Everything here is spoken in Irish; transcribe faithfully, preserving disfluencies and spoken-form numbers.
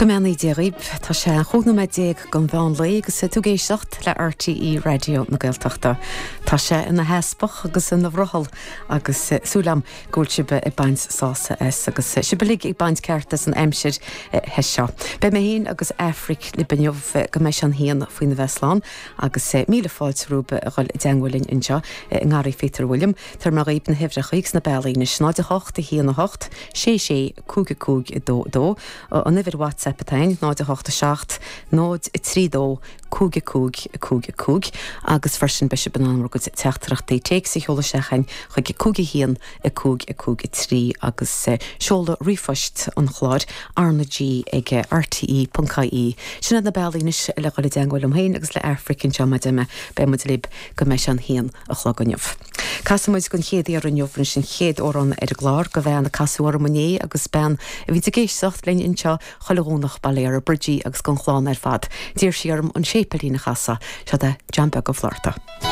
Go mbeannaí Dia dhaoibh, tá sé chúig nóiméad déag don mheán lae agus tú ag éisteacht le RTÉ Raidió na Gaeltachta. Tá sé ina theaspach agus ina bhrothall agus súil agam go bhfuil sibh ag baint sásamh as agus sibh uilig ag baint ceart as an aimsir the seo. Beidh mé féin agus Aifric libh inniu go mbeidh sé an haon faoina bheith slán agus míle fáilte romhaibh a dhul i dteagmháil linn anseo i nGarraí Phíotair William, Tabharfaidh mé dhaoibh na huimhreacha agus na bealaí anois náid a hocht a haon a hocht sé sé cúig a cúig a dó dó an uimhir WhatsApp atá ann náid a hocht a seacht náid a trí dó cúig a cúig a cúig a cúig agus freisin beidh sibh in ann bhur gcuid teachtaireachtaí téacs a sheoladh isteach chugainn chuig cúig a haon a cúig a cúig a trí agus seoladh ríomhphoist an chláir RnaG ag RTE ponc IE. Sin iad na bealaí anois le dhul i dteagmháil liom féin agus le Aifric anseo mar a deir mé beidh muid libh go mbeidh sé an haon a chlog inniu. Casfaidh muid don chéad iarraidh inniu anois an chéad amhrán ar an gclár go bhean a casadh orm inné agus bean a bhí ag éisteacht linn anseo chuile Dhomhnach bail ó Dhia ar Bridgie agus don chlann ar fad. D'iarr sí orm an séipéilín a chasadh, seo é John Beag Ó Flatharta.